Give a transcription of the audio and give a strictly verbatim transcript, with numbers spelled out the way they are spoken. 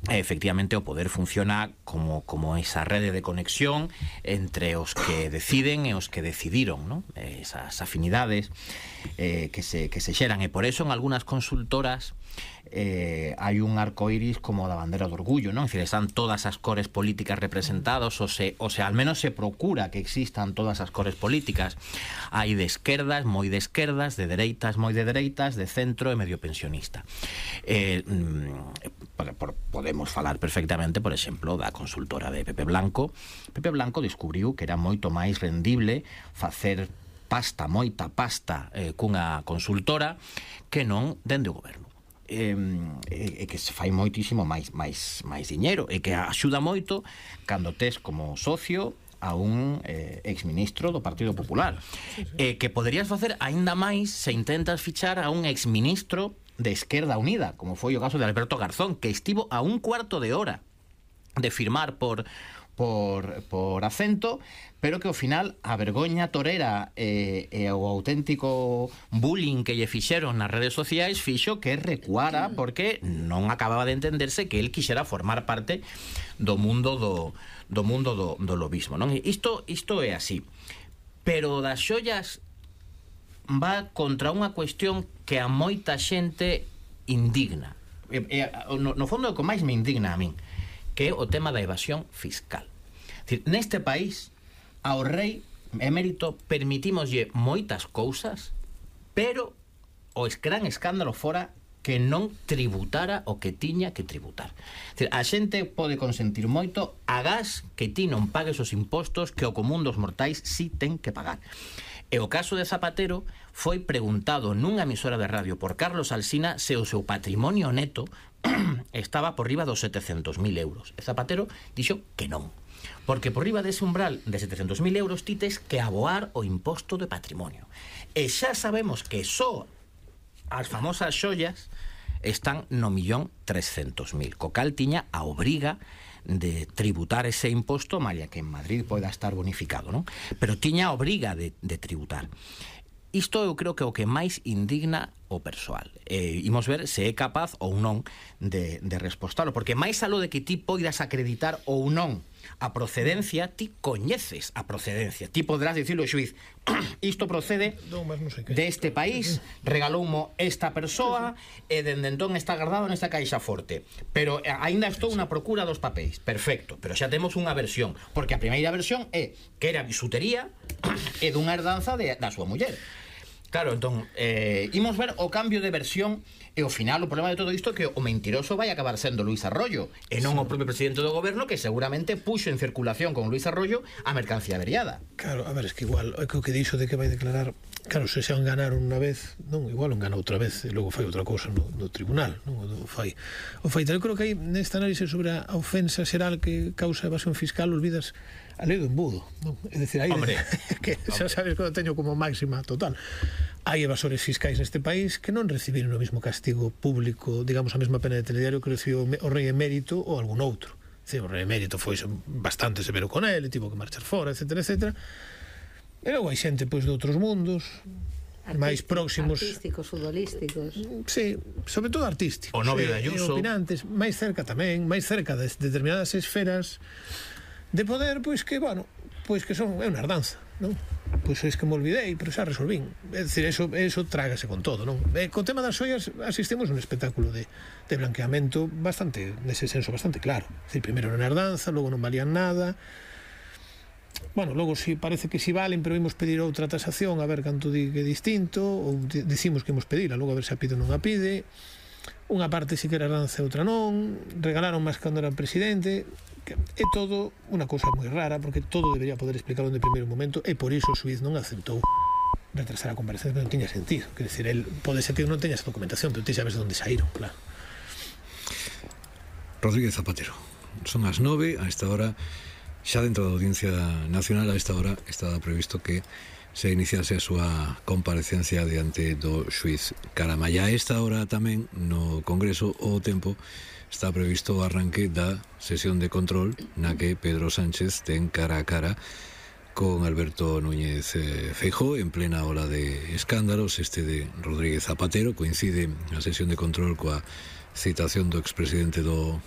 efectivamente o poder funciona como, como esa rede de conexión entre os que deciden e os que decidiron, ¿no? Esas afinidades eh, que, se, que se xeran, e por eso en algunhas consultoras eh, hai un arco iris como da bandera do orgullo, ¿no? Es decir, están todas as cores políticas representadas, o se, o sea, al menos se procura que existan todas as cores políticas. Hai de esquerdas, moi de esquerdas, de dereitas, moi de dereitas, de centro e medio pensionista. Eh, por, por, podemos falar perfectamente, por exemplo, da consultora de Pepe Blanco. Pepe Blanco descubriu que era moito máis rendible facer pasta, moita pasta eh, cunha consultora que non dende o goberno. E, e que se fai moitísimo máis, máis, máis diñeiro, e que axuda moito cando tes como socio a un eh, exministro do Partido Popular, sí, sí. E que poderías facer aínda máis se intentas fichar a un exministro de Esquerda Unida, como foi o caso de Alberto Garzón, que estivo a un cuarto de hora de firmar por por, por acento, pero que ao final a vergoña torera e, e o auténtico bullying que lle fixeron nas redes sociais fixo que recuara, porque non acababa de entenderse que el quixera formar parte do mundo do, do mundo do, do lobismo, non? Isto, isto é así. Pero das xollas va contra unha cuestión que a moita xente indigna. E, e, no, no fondo, o que máis me indigna a min, que é o tema da evasión fiscal. Decir, neste país, ao rei emérito permitímoslle moitas cousas, pero o gran escándalo fora que non tributara o que tiña que tributar. Decir, a xente pode consentir moito agás que ti non pagues os impostos que o común dos mortais si ten que pagar. E o caso de Zapatero foi preguntado nunha emisora de radio por Carlos Alsina se o seu patrimonio neto estaba por riba dos setecentos mil euros. E Zapatero dixo que non, porque por riba dese umbral de setecentos mil euros ti tes que aboar o imposto de patrimonio. E xa sabemos que só as famosas xollas están no millón trescentos mil, co cal tiña a obriga de tributar ese imposto, malia que en Madrid poida estar bonificado, non? Pero tiña a obriga de, de tributar. Isto eu creo que o que máis indigna o persoal. Eh, imos ver se é capaz ou non de, de respostalo, porque máis aló de que ti poidas acreditar ou non a procedencia, ti coñeces a procedencia. Ti podrás dicirlo ao xuiz, isto procede deste país, regaloumo esta persoa e dende entón está guardado nesta caixa forte. Pero aínda estou na procura dos papéis. Perfecto, pero xa temos unha versión, porque a primeira versión é que era bisutería e dunha herdanza de, da súa muller. Claro, entón, eh, imos ver o cambio de versión e ao final o problema de todo isto é que o mentiroso vai acabar sendo Luís Arroyo e non o propio presidente do goberno, que seguramente puxo en circulación con Luís Arroyo a mercancía averiada. Claro, a ver, es que igual é que o que dixo de que vai declarar, claro, se xa enganaron unha vez, non, igual engana outra vez e logo fai outra cousa no, no tribunal, non, o fai o fai, eu creo que aí nesta análise sobre a ofensa xeral que causa evasión fiscal olvidas a lei do embudo, non? É dicir, aí hombre, que xa sabes que o teño como máxima total. Hai evasores fiscais neste país que non recibiron o mesmo castigo público, digamos, a mesma pena de telediario que recibiu o rei emérito ou algún outro. Dicir, o rei emérito foi bastante severo con ele, tivo que marchar fora, etcétera, etcétera. E logo hai xente, pois, de outros mundos máis próximos, artísticos, futbolísticos. Sí, sobre todo artísticos. O novio de E Ayuso. opinantes, máis cerca tamén, máis cerca de determinadas esferas de poder, pois que, bueno, pois que son, é unha herdanza, non? Pois é que me olvidei, pero xa resolvín. É dicir, eso, eso trágase con todo, non? E co tema das xoias asistimos a un espectáculo de, de blanqueamento bastante, nese senso, bastante claro. É dicir, primeiro era unha herdanza, logo non valían nada. Bueno, logo si parece que si valen, pero imos pedir outra tasación a ver canto di que é distinto, ou di, dicimos que imos pedir, logo a ver se a pide ou non a pide. Unha parte si que era herdanza e outra non, regalaron máis cando era presidente. É todo unha cousa moi rara, porque todo debería poder explicarlo de primeiro momento, e por iso o xuiz non aceptou retrasar a comparecencia, que non tiña sentido. Quer dizer, el pode ser que non teña esa documentación, pero ti sabes de onde saíron, claro. Rodríguez Zapatero, son as nove, a esta hora, xa dentro da Audiencia Nacional, a esta hora estaba previsto que se iniciase a súa comparecencia diante do xuiz Caramalla. A esta hora tamén no Congreso o Tempo está previsto o arranque da sesión de control na que Pedro Sánchez ten cara a cara con Alberto Núñez eh, Feijóo en plena ola de escándalos. Este de Rodríguez Zapatero coincide a sesión de control coa citación do expresidente do